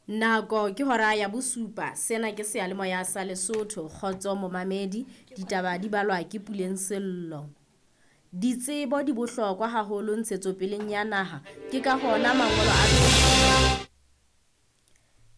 Nako ke hora ya bosupa. Sena ke seyalemoya sa Lesotho. Kgotso momamedi. Ditaba di balwa ke Puleng Sello. Ditsebo di bohlokwa haholo ntshetsopeleng ya naha. Ke ka hona mangolo a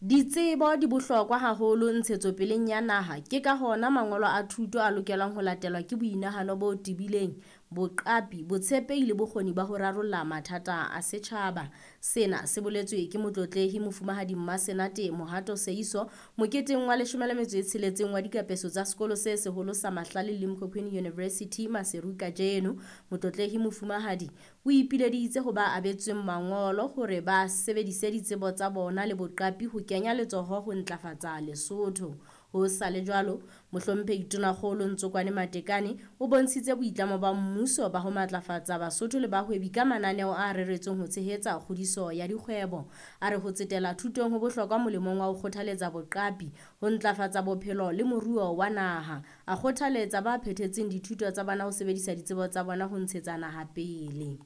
Ditsebo di bohlokwa haholo ntshetsopeleng ya naha. Ke ka hona mangolo a thuto a lokelang ho latelwa ke boinahano bo tebileng, boqapi, botshepehi le bokgoni ba ho rarolla mathata a setjhaba. Sena se boletswe ke Motlotlehi Mofumahadi Mmasenate Mohato Seeiso moketeng wa 16 wa dikapeso tsa sekolo se seholo sa Mahlale Limkokwing University Maseru kajeno. Motlotlehi Mofumahadi o ipileditse ho ba abetsweng mangolo hore ba sebedise ditsebo tsa bona le boqapi ho kenya letsoho ho ntlafatsa Lesotho. Ho sa le jwalo, Mohlomphehi Tonakgolo Ntsokwane Matekane o bontshitse boitlamo ba mmuso ba ho matlafatsa Basotho le bahwebi ka mananeo a reretsweng ho tshehetsa kgodiso ya dikgwebo. A re ho tsetela thutong ho bohlokwa molemong wa ho kgothaletsa boqapi, ho ntlafatsa bophelo le moruo wa naha. A kgothaletsa ba phethetseng dithuto tsa bona ho sebedisa ditsebo tsa bona ho ntshetsa naha pele.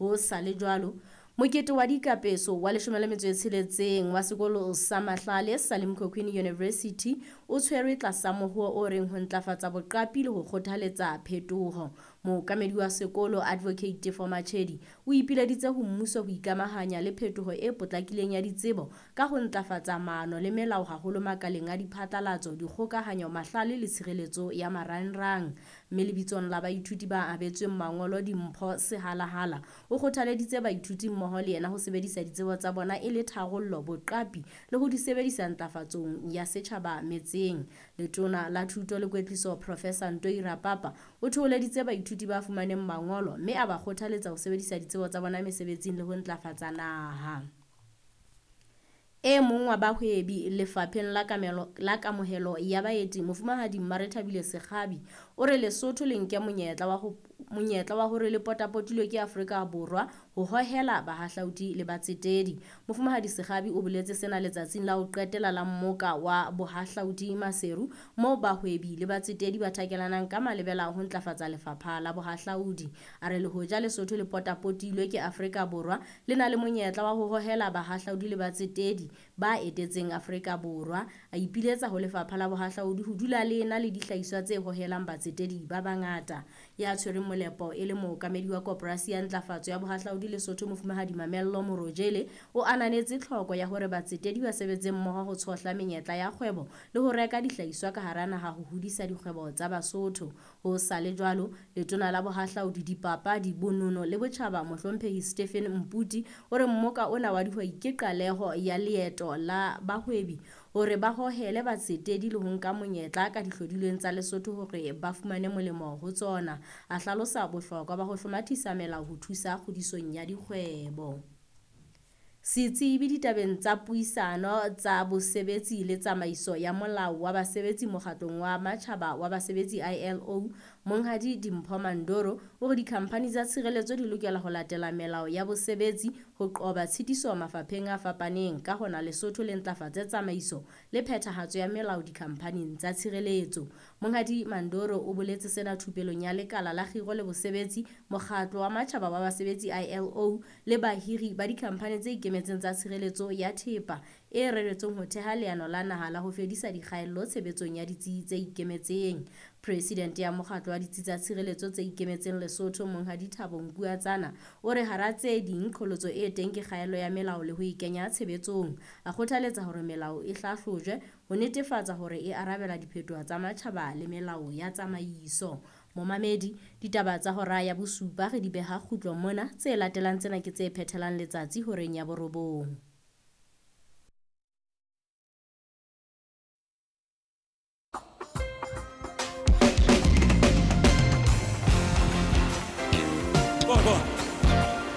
Ho sa le jwalo, mokete wa dikapeso wa 16 wa sekolo sa Mahlale sa Limkokwing University o tshwerwe tlasa mohoo o reng ho ntlafatsa boqapi le ho kgothaletsa phetoho. Mookamedi wa sekolo Advocate Tefo Machedi o ipileditse ho mmuso ho ikamahanya le phetoho e potlakileng ya ditsebo ka ho ntlafatsa maano le melao haholo makaleng a diphatlalatso, dikgokahanyo, mahlale le tshireletso ya marangrang. Mme lebitsong la baithuti ba abetsweng mangolo dimpho Sehalahala o kgothaleditse baithuti mmoho le yena ho sebedisa ditsebo tsa bona e le tharollo, boqapi le ho di sebedisa ntlafatsong ya setjhaba metseng. Letona la Thuto le Kwetliso Professor Ntoi Rapapa o thoholeditse baithuti ba fumaneng mangolo mme a ba kgothaletsa ho sebedisa ditsebo tsa bona mesebetsing le ho ntlafatsa naha. E mong wa bahwebi lefapheng la kamelo la kamohelo ya baeti Mofumahadi Mmarethabile Sekgabi o re Lesotho le nke monyetla wa ho monyetla wa hore le potapotilwe ke Afrika Borwa ho hohela bahahlaudi le batsetedi. Mofumahadi Sekgabi o boletse sena letsatsing la ho qetela la mmoka wa bohahlaudi Maseru moo bahwebi le batsetedi ba thakelanang ka malebela ho ntlafatsa lefapha la bohahlaudi. A re le hoja Lesotho le potapotilwe ke Afrika Borwa le na le monyetla wa ho hohela bahahlaudi le batsetedi ba etetseng Afrika Borwa. A ipiletsa ho lefapha la bohahlaudi ho dula le ena le dihlahiswa tse hohelang batsetedi ba bangata. Ya tshwereng molepo e le mookamedi wa koporasi ya ntlafatso ya bohahlaudi Lesotho Mofumahadi Mamello Morojele o ananetse tlhoko ya hore batsetedi ba sebetse mmoho ho tshohla menyetla ya kgwebo le ho reka dihlahiswa ka hara naha ho hodisa dikgwebo tsa Basotho. Ho sa le jwalo, letona la bohahlaudi, dipapadi, bonono le botjhaba Mohlomphehi Stephen Mputi o re mmoka ona wa dihwai ke qaleho ya leeto la bahwebi hore ba hohele batsetedi le ho nka monyetla ka dihlodilweng tsa Lesotho hore ba fumane molemo ho tsona. A hlalosa bohlokwa ba ho hlomathisa melao ho thusa kgodisong ya dikgwebo. Setsebi ditabeng tsa puisano tsa bosebetsi le tsamaiso ya molao wa basebetsi mokgatlong wa matjhaba wa basebetsi ILO, Monghadi Dimpho Mandoro o re dikhamphani tsa tshireletso di lokela ho latela melao ya bosebetsi ho qoba tshitiso mafapheng a fapaneng. Ka hona Lesotho le ntlafatse tsamaiso le phethahatso ya melao dikhamphaning tsa tshireletso. Monghadi Mandoro o boletse sena thupelong ya lekala la kgiro le bosebetsi, mokgatlo wa matjhaba wa basebetsi ILO le bahiri ba dikhamphani tse ikemetseng tsa tshireletso ya thepa e reretsweng ho theha leano la naha la ho fedisa dikgaello tshebetsong ya ditsi tse ikemetseng. Presidente ya mokgatlo wa ditsi tsa tshireletso tse ikemetseng Lesotho Monghadi Thabo Nkuatsana o re hara tse ding qholotso e teng ke kgaello ya melao le ho e kenya tshebetsong. A kgothaletsa hore melao e hlahlojwe ho netefatsa hore e arabela diphetoho tsa matjhaba le melao ya tsamaiso. Momamedi, ditaba tsa hora ya bosupa re di beha kgutlo mona, tse latelang tsena ke tse phethelang letsatsi horeng ya borobong.